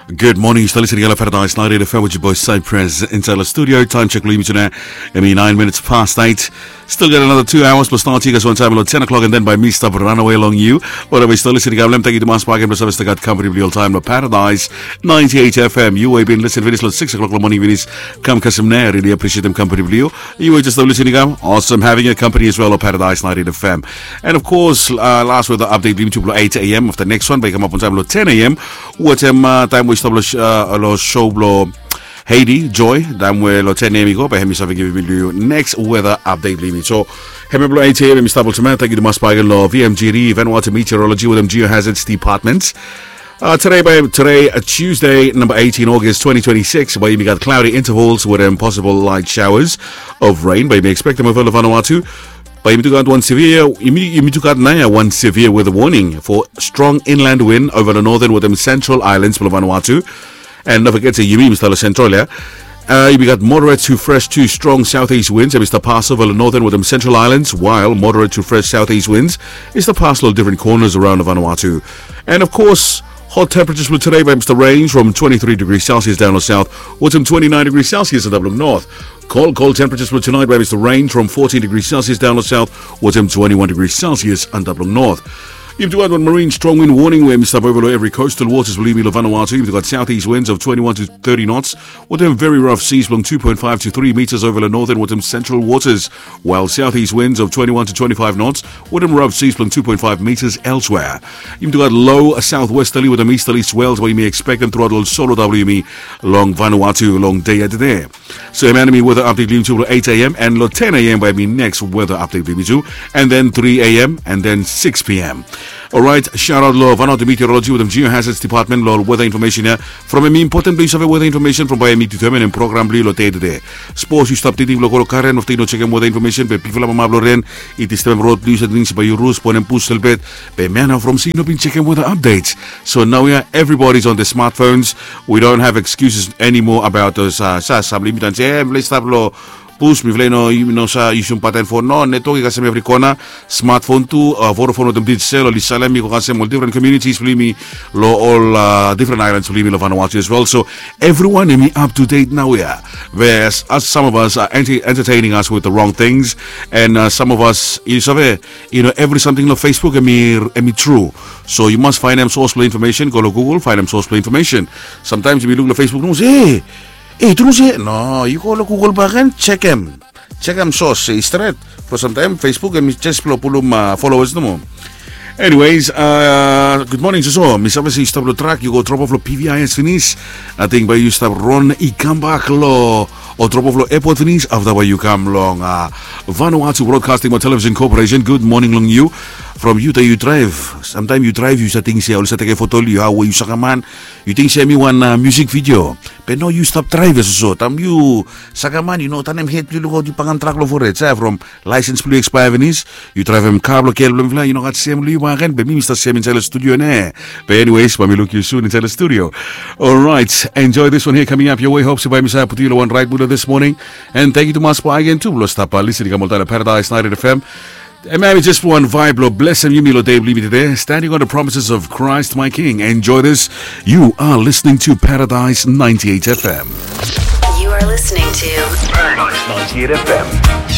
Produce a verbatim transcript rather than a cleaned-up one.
Good morning, yu stap listening lo Paradise ninety-eight F M with your boy Cypress inside the studio. Time check lo yumi tonight. Hemi nine minutes past eight. Still got another two hours plus thirty guys one time lo ten o'clock, and then by me stap run away long you. Whatever yu stap listening, I'm taking to mas back and plus I still got company real time lo Paradise ninety-eight F M. Yu we bin listen finis lo six o'clock lo morning finis. Kam kasem na, really appreciate them company real. Yu we just stap listening, I'm awesome having your company as well lo Paradise ninety-eight F M. And of course, uh, last weather update blim tuplo eight a.m. of the next one, bae i kamap on time lo ten a.m. Wetem uh, taem we i stap lo, uh, lo show blo Haiti Joy, taem we lo ten a.m. i go, bae hemi save givim yu next weather update blim. So hemi blo eight a.m. hemi stap olsem. Thank you to mas bae lo V M G D, Vanuatu Meteorology wetem Geohazards Department. Uh, today, bae, today, uh, Tuesday, number eighteen August twenty twenty-six, bae yumi gat cloudy intervals with um, possible light showers of rain. Bae yumi expect them over Vanuatu. Bae yumi tu gat wan severe, yumi, yumi tu gat nao wan severe weather warning for strong inland wind over the northern wetem central islands of Vanuatu. And don't forget to yumi, Mister Central, yeah? Uh, we got moderate to fresh to strong southeast winds, Mister Paso, over the northern wetem central islands, while moderate to fresh southeast winds is the pass lo different corners around Vanuatu. And of course, hot temperatures for today, bae yumi stap range from twenty-three degrees Celsius down south, wetem twenty-nine degrees Celsius in the north. Cold, cold temperatures for tonight, bae yumi stap range from fourteen degrees Celsius down south, wetem twenty-one degrees Celsius in the north. Yumi tu gat wan marine strong wind warning we hemi stap over lo every coastal waters blo yumi lo Vanuatu. Yumi tu gat southeast winds of twenty-one to thirty knots, wetem very rough seas blo two point five to three meters over lo northern wetem central waters, while southeast winds of twenty-one to twenty-five knots, wetem rough seas blo two point five meters elsewhere. Yumi tu gat low southwesterly wetem easterly swells we yumi expect them throughout lo solo W M E long Vanuatu long dei ya tede. So hemia hemi weather update blim yumi tu lo eight a.m. and lo ten a.m. bae hemi next weather update blim yumi tu, and then three a.m. and then six p.m. Alright, shout out lo Vanuatu Meteorology wetem Geohazards Department lo weather information ya. From hemi important blo yu save weather information from bae hemi determine program blo yu lo dei tede. Sapos yu stap tingting blo go lo garen afta yu no jekem weather information, be bigfala mama blo ren i disturbem rod blo yu, sating se bae yu rus, bonem bus lelebet, be mia nao from se yu no bin jekem weather updates. So naoia everybody's on the smartphones. We don't have excuses anymore about those, uh, sa, samli mi tan se, eh, mifala i stap lo bus, mifala i no, yu no sa yusum button phone. No, network i kasem evri kona. Smartphone tu, uh, Vodafone wetem Digicel oli salem i go kasem ol different communities blo yumi lo ol, uh, different islands blo yumi lo Vanuatu as well. So everyone hemi up to date naoia. Whereas us, some of us are anti-, entertaining us with the wrong things, and, uh, some of us, yu save, yu no, evri samting lo Facebook hemi, hemi tru. So yu mas faenem source blo information, go lo Google, faenem source blo information. Sometimes yumi luk lo Facebook, no se, eh, eh, tru se. No, yu go lo Google bakegen, jekem, jekem source se i stret. Bikos samtaem Facebook hemi jes blo pulum, uh, followers nomo. Anyways, uh, good morning, Soso. Mi save se yu stap lo trak, yu go drop off lo P V I S finis. Ating bae yu stap ron i kambak lo, o drop off lo airport finis, afta bae yu kam long, uh, Vanuatu Broadcasting Television Corporation. Good morning long yu. From yu taem yu draev. Samtaem yu draev yu sa ting se oli sa tekem foto lo yu, hao we yu sakem man. Yu ting se hemi wan, uh, music video. Be no, yu stap draev ya Soso. Taem yu sakem man, yu no tanem hed blo yu lukaot yu pakem trak lo fored, sa, from license blo yu expire finis, yu draevem kar blo gel blo mifala, yu no gat sem lo yu bakegen, be mi mi stap sem insaed lo studio nao. Be anyways, bae mi luk yu soon insaed lo studio. Alright, enjoy this one here coming up your way. Hope se bae mi save putum yu lo wan raet mud lo this morning. And thank you to mas bae again tu blo stap, uh, listening kam oltaem lo Paradise ninety-eight F M. Hemia hemi jes wan vibe blo blesem yumi lo dei blo yumi tede. Standing on the promises of Christ my King. Enjoy this. You are listening to Paradise ninety-eight F M. You are listening to Paradise ninety-eight F M.